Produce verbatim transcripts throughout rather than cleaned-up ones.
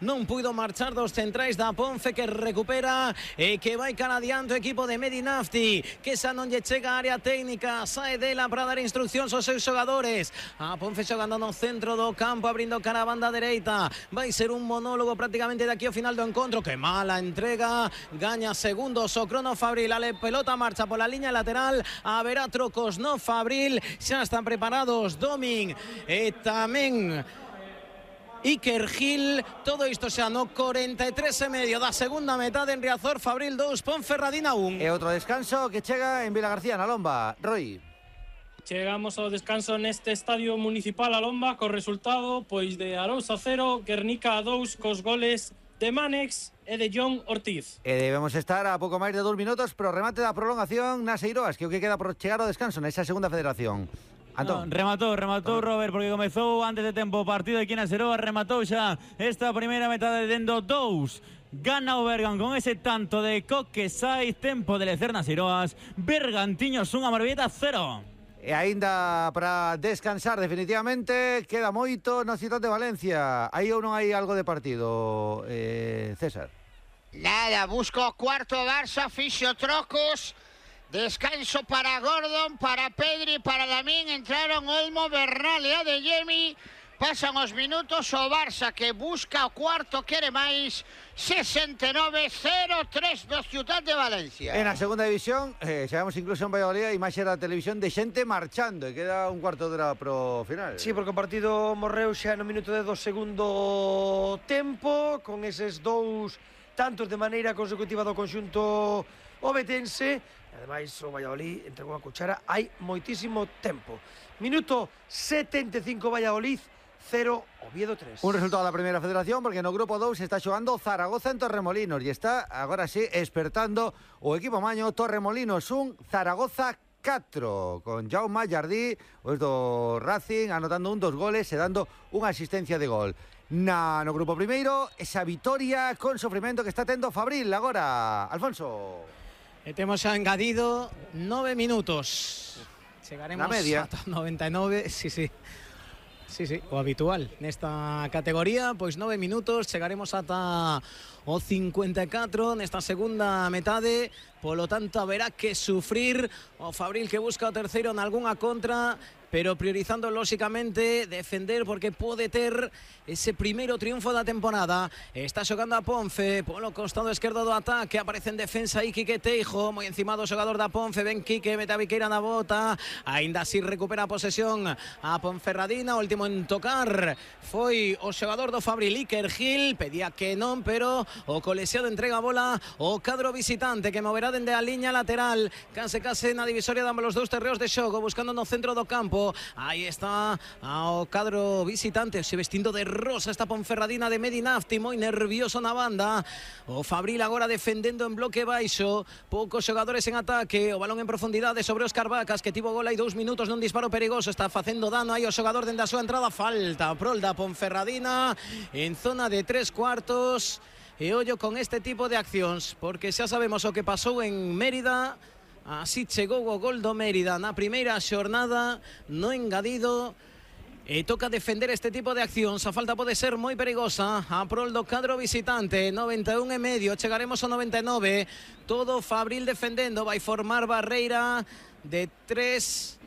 non puido marchar dos centrais da Ponfe, que recupera e que vai cara adiante o equipo de Medinafti, que xa non lle chega a área técnica, sae dela para dar instruccións aos seus xogadores. A Ponfe xogando no centro do campo, abrindo cara a banda dereita, vai ser un monólogo prácticamente de aquí ao final do encontro. Que mala entrega, gaña segundos o crono Fabril, a pelota marcha pola liña lateral, haberá trocos no Fabril, xa están preparados Domin e tamén Iker Gil. Todo isto xa no corenta e tres e medio da segunda metade en Riazor. Fabril dous, Ponferradina un. E outro descanso que chega en Vilagarcía, na Lomba. Roy. Chegamos ao descanso neste estadio municipal a Lomba co resultado pois de Arousa cero, Guernica dous, cos goles de Manex e de John Ortiz. E debemos estar a pouco máis de dous minutos pro remate da prolongación nas Eiroas, que o que queda por chegar ao descanso nesa segunda federación. No, rematou, rematou Robert, porque comezou antes de tempo o partido aquí na Seroa, rematou xa esta primeira metade dendo dous. Gana o Bergan con ese tanto de Coque Saiz, tempo de lecer nas Seroas. Bergantiños un, Amorebieta cero. E aínda para descansar definitivamente, queda moito na cidade de Valencia. Aí ou non hai algo de partido, eh, César? Nada, busco o cuarto Barça, fixo trocos. Descanso para Gordon, para Pedri, para Lamín. Entraron Olmo, Bernal e Adeyemi. Pasan os minutos, o Barça que busca o cuarto, quere máis. sesenta e nove cero tres do Ciutat de Valencia. En a segunda división, eh, chegamos incluso en Valladolid, a imaxe da televisión de xente marchando, e queda un cuarto de hora pro final. Sí, porque o partido morreu xa no minuto de do segundo tempo, con eses dous tantos de maneira consecutiva do conxunto obetense. Ademais, o Valladolid entregou a cuchara hai moitísimo tempo. Minuto setenta e cinco, Valladolid cero, Oviedo tres. Un resultado da primeira federación, porque no grupo dous está xogando Zaragoza en Torremolinos e está, agora sí, espertando o equipo maño. Torremolinos un, Zaragoza catro, con Jaume Jardí, os do Racing, anotando un dos goles e dando unha asistencia de gol. Na, no grupo primeiro, esa vitoria con sofrimento que está tendo Fabril agora. Alfonso. E temos xa engadido nove minutos. Chegaremos ata noventa e nove, sí, sí. Sí, sí, o habitual nesta categoría, pois nove minutos, chegaremos ata o cincuenta e catro nesta segunda metade. Polo tanto, haberá que sufrir o Fabril, que busca o terceiro en algunha contra, pero priorizando lóxicamente defender, porque pode ter ese primeiro triunfo da temporada. Está xogando a Ponfe polo costado esquerdo do ataque, aparece en defensa aí Quique Teijo, moi encima do xogador da Ponfe. Ben Quique, mete a Viqueira na bota, aínda así recupera a posesión a Ponferradina. O último en tocar foi o xogador do Fabril, Iker Gil, pedía que non, pero o colexiado entrega a bola o cadro visitante, que moverá dende a liña lateral, case case na divisoria de ambos os dous terreos de xogo, buscando no centro do campo. Aí está o cadro visitante, se vestindo de rosa esta Ponferradina de Medinafti, moi nervioso na banda. O Fabril agora defendendo en bloque baixo, poucos xogadores en ataque, o balón en profundidade sobre Óscar Vacas, que tivo gol hai dous minutos nun disparo perigoso, está facendo dano aí o xogador dende a súa entrada. Falta prol da Ponferradina en zona de tres cuartos. E ollo con este tipo de accións, porque xa sabemos o que pasou en Mérida. Así chegou o gol do Mérida na primeira xornada, no engadido. E toca defender este tipo de accións. A falta pode ser moi perigosa a prol do cadro visitante. noventa e un e medio, chegaremos ao noventa e nove. Todo Fabril defendendo, vai formar barreira de tres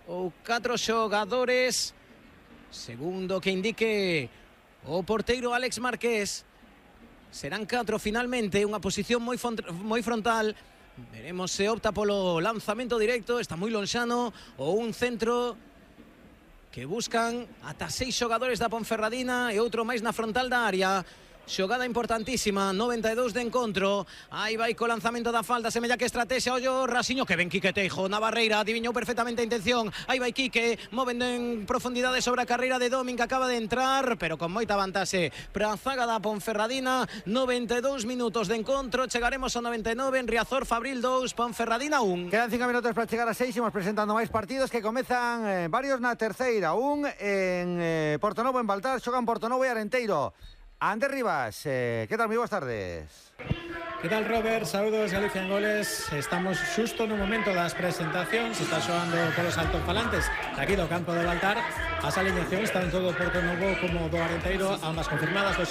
ou catro xogadores, segundo que indique o porteiro Alex Marqués. Serán catro finalmente, unha posición moi, moi frontal. Veremos se opta polo lanzamento directo, está moi lonxano, ou un centro que buscan ata seis xogadores da Ponferradina e outro máis na frontal da área. Xogada importantísima, noventa e dous de encontro. Aí vai co lanzamento da falta, semella que estrategia. Ollo Rasiño, que ven Quique Teijo na barreira, adiviñou perfectamente a intención. Aí vai Quique, movendo en profundidade sobre a carreira de Domin, que acaba de entrar, pero con moita vantaxe para a zaga da Ponferradina. noventa e dous minutos de encontro, chegaremos ao noventa e nove en Riazor. Fabril dous, Ponferradina un. Quedan cinco minutos para chegar a seis, imos presentando máis partidos que comezan eh, varios na terceira. Un en eh, Portonovo, en Baltar, xogan Portonovo e Arenteiro. Ander Rivas, eh, ¿qué tal? Muy buenas tardes. Que tal, Robert? Saúdos, Galicia en Goles. Estamos xusto no momento das presentacións. Está xoando polos altofalantes aquí do campo de Baltar. As aliñacións están todo Porto Novo como do Arenteiro, ambas confirmadas, lógicamente.